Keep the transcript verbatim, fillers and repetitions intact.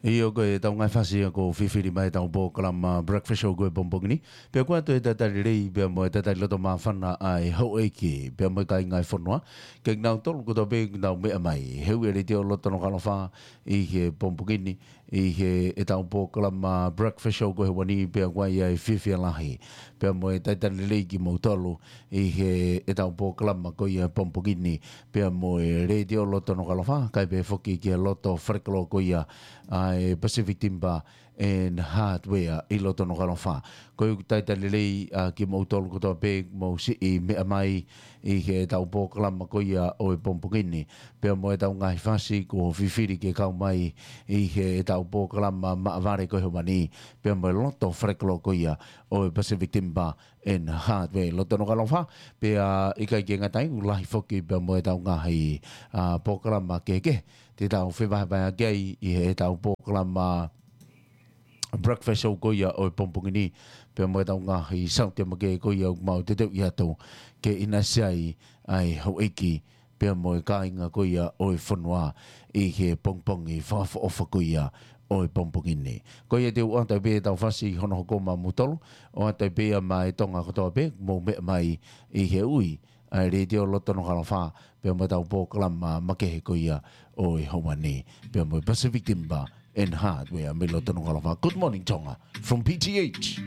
ʻIo, ko e tau ngaahi fasi ia kuo fifili mai ʻetau polokalama Breakfast Show ko e pongipongi ni. Pea ko e ʻatu e talitali lelei, pea mo e talitali loto māfana ʻa e houʻeiki, pea mo e kāinga e fonua. Ke nau tolu kotoa pē nau meʻa mai. He ʻoku ʻi ai e Letiō Loto Nukuʻalofa ʻi he pongipongi ni, ʻi heʻetau polokalama Breakfast Show ko e ʻaho ni, pea ʻoku ʻi ai e fiefia lahi. Pea mo e talitali lelei kimoutolu ʻi heʻetau polokalama ko ia pongipongi ni, pea mo e Letiō Loto Nukuʻalofa, kae pehē foki ki he loto falekoloa ko ia ʻa e Pacific Timber and Hardware ʻi loto Nukuʻalofa. Ko e talitali lelei ʻa kimoutolu kotoa pē mou siʻi meʻa mai ʻi heʻetau polokalama ko ia ʻo e pongipongi ni. Pea mo ʻetau ngaahi fasi kuo fifili ke kau mai ʻi heʻetau polokalama maʻavale ko e ʻaho ni. Pea mo e loto falekoloa ko ia ʻo e Pacific Timber and Hardware ʻi loto Nukuʻalofa. Pea ʻikai ke ngata ai, ʻoku lahi foki pea mo ʻetau ngaahi, ʻa, polokalama kehekehe te tau fevahevaheʻaki ai ʻi heʻetau polokalama Breakfast Show ko ia ʻo e pongipongi ni, pea mo ʻetau ngaahi saute makehe ko ia ʻoku mau teuteuʻi atu ke ʻinasi ai ʻa e houʻeiki, pea mo e kāinga ko ia ʻo e fonua ʻi he pongipongi fakaʻofoʻofa ko ia ʻo e pongipongi ni. Ko ia te u ʻoatu pē ʻetau fasi hono hoko maʻamoutolu, ʻoatu pē ia maʻa e Tonga kotoa pē mou meʻa mai ʻi he ui ʻa e Letiō Loto Nukuʻalofa, pea mo ʻetau polokalama makehe ko ia ʻo e ʻaho ni, pea mo e Pacific Timber and Hardware mei loto Nukuʻalofa. Good morning, Tonga, from P T H.